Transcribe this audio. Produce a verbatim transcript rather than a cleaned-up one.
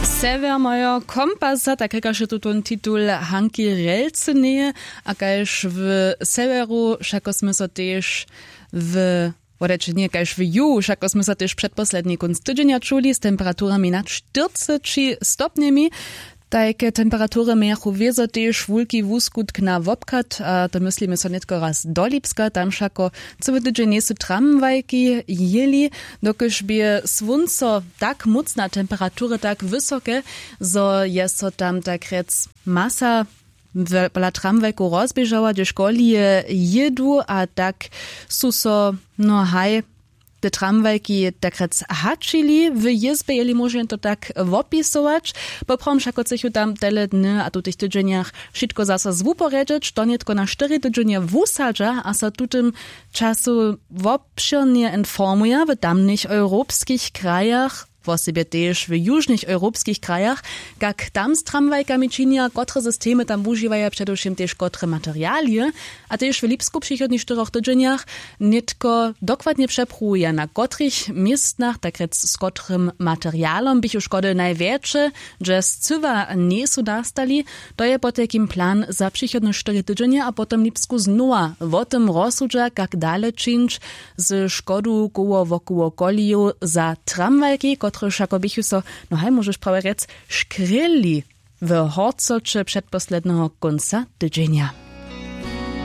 Sewjer mojo kompasa, tak rěkaše tutón titul Hanki Relcyneje. A kaž w sewjeru, wšako smy so tež w wodaće njeje kaž w juhu, wšako smy so tež předposledni kónc tydźenja čuli z temperaturami nad štyrceći stopnjemi. Tajke temperatury mějachu wězo tež wulki wuskutk na wobchad, a to myslimy so nětko raz do Lipska. Tam wšako cyły tydźeń njejsu tramwajki jěli, dokelž bě słónco tak mócne a temperatury tak wysoke, zo je so tam tak rjec masa pola tramwajkow rozběžała, hdyž koleje jědu, a tak su so, no haj, te tramwajki tak rjec hačili w jězbje, jeli móžemy to tak wopisować. Poprawom wšako chcechu tam tele dny a tutych tydźenjach wšitko zaso zwuporjedźeć, to nětko na štyri tydźenje wusadźa a so w tutym času wobšěrnje informuja w tamnych europskich krajach, wosebje tež w južnych europskich krajach, kak tam z tramwajkami činja, kotre systemy tam wužiwaja, předewšěm tež kotre materialije. A tež w Lipsku w přichodnych štyrjoch tydźenjach nětko dokładnje přepruwuja, na kotrych městnach, tak rjec z kotrym materialom běchu škody najwjetše, hdźe scyła njejsu nastali. To je potajkim plan za přichodne štyri tydźenje a potom Lipsku znowa wo tym rozsudźa, kak dale čińć ze škodu koło wokoło kolejow za tramwajki, kotrež wšako běchu so, no haj, móžeš prawje rjec, škrěli w horcoće předposledneho kónca tydźenja.